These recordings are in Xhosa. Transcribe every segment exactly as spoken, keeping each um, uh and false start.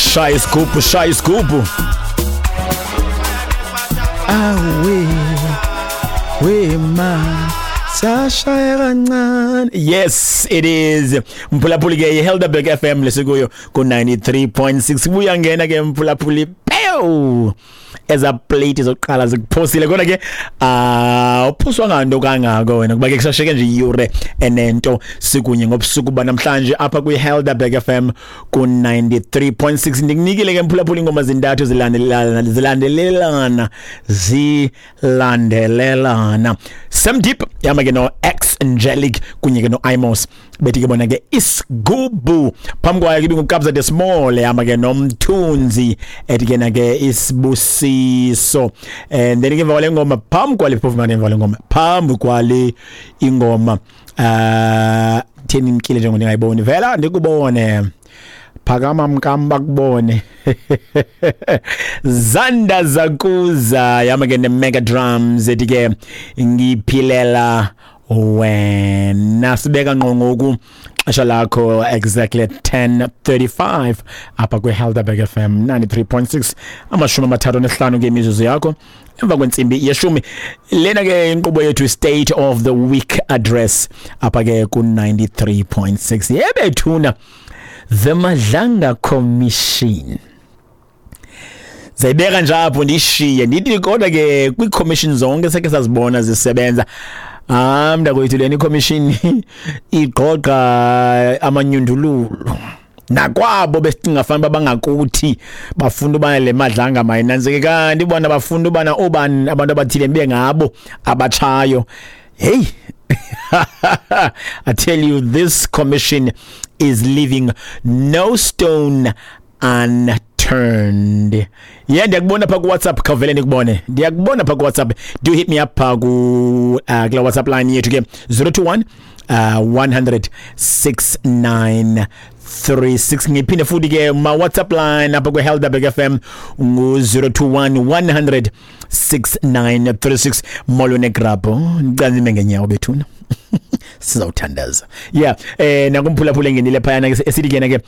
Shaya isigubhu, shaya isigubhu. Awe wema sashaya kancane. Yes, it is, mphulaphuli, ke iHelderberg F M lesikuyo ku ninety-three point six. Buya ngena ke, mphulaphuli, pew, eza plate zokuqala zikuphosile, kodwa ke ah uphoswa nganto kangako wena, kuba ke kusasheke nje iyure enento sikunye ngobusuku banamhlanje apha kwi-Helderberg F M ku ninety-three point six. Ndikunikile ke, mphulaphuli, ingoma zintathu zilandelelana, zilandelelana, zilandelelana. Sam Deep yama ke no X Angelic kunye ke no Imos, bethi ke bona ke Isigubu. Phambi kwayo ke ibinguKabza de Small yama ke noMthunzi, ethi ke na ke Isibusiso. And then ke emva kwale ngoma, phambi kwale, phofu manje emva kwale ngoma, phambi kwale ingoma, uh theni imkile njengoba ndingayiboni vela, ndikubone, phakama mkam, bakubone, Zanda Zakuza yama ke ne-Mega Drums, ethi ke Ngiphilela Wena. Sibeka ngqo ngoku xesha lakho exactly at ten thirty-five apha kwi-Helderberg F M ninety-three point six, amashumi amathathu nesihlanu ke imizuzu yakho emva kwentsimbi yeshumi. Lena ke inkqubo yethu, State of the Week Address, apha ke ku ninety-three point six. Yebethuna, the Madlanga Commission zayibeka nje apho, ndishiye ndithi kodwa ke kwii-commission zonke seke sazibona zisebenza, ah mntakwethu, lena i-commission igqogqa amanyundululu nakwabo besicinga fanele bangakuthi bafuna uba le Madlanga mayinantsike, kanti bona bafuna ubana obani abantu abathile bibe ngabo abatshayo. Hey, I tell you, this commission is leaving no stone unturned. Yeah, ndiyakubona pha ku WhatsApp, khawuvele ndikubone. Ndiyakubona pha ku WhatsApp. Do hit me up pha ku uh, kula WhatsApp line yethu ke, zero two one uh, one hundred six nine three six. Ngiphinde futhi ke, ma WhatsApp line apha kwe Helderberg F M ngu zero two one one hundred six nine three six. Molo negrabho, ndicela nime ngenyawo bethuna, sizawuthandaza. Yeah, eh nakumphulaphula engenile phayana ke, esithi kena ke,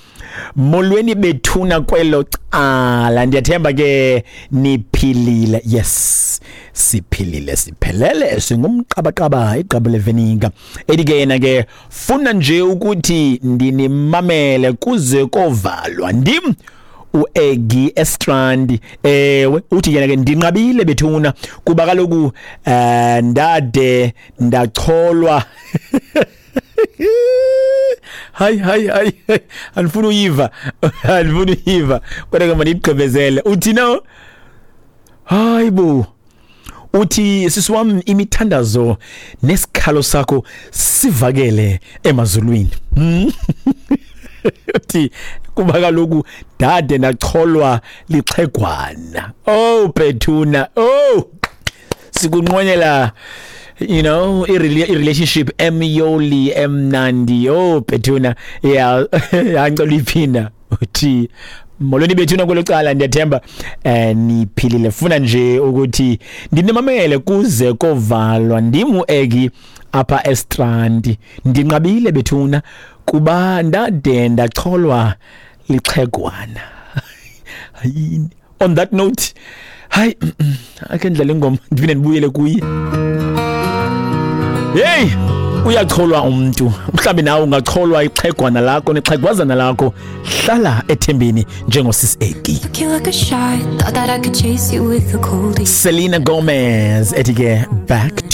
"Molweni bethuna kwelo cala, ndiyathemba ke niphilile." Yes, siphilile, siphelele, singumqabaqaba igqabo levenika. Ethi ke yena ke, "Funa nje ukuthi ndinimamele kuze kovalwa, ndim uEggy Estrand." Ewe, uthi yena ke, "Ndinqabile bethuna, kuba kaloku eh ndade ndacholwa." Hayi hayi hayi, andifuna uyiva, andifuna uyiva, kodwa ke mandiyigqibezele. Uthi no, hayi bo, uthi, "Sisi wami, imithandazo nesikhalo sakho sivakele emazulwini." Hmm? Uthi kuba kaloku dade ndacholwa lixhegwana. Oh bethuna, oh, sikunqwenela you know i-relationship emyoli, emnandi. Oh bethuna, yeah, angicela uyiphinda. Uthi, "Molweni bethuna kwelo cala, ndiyathemba eh niphilile. Funa nje ukuthi ndinimamele kuze kovalwa, ndimu Egi apha eStrand. Ndinqabile bethuna kuba ndade ndacholwa lixhegwana." Hayini, on that note, hayi, ake ndidlale ingoma, ndiphinde ndibuyele kuye. Hey, uyacholwa umuntu, mhlawumbe nawe ungacholwa ixhegwana lakho nexhegwazana lakho. Hlala ethembeni njengosisi Eki. Took you like a shot. Thought that I could chase you with a coldie. Selena Gomez ethi ke Back to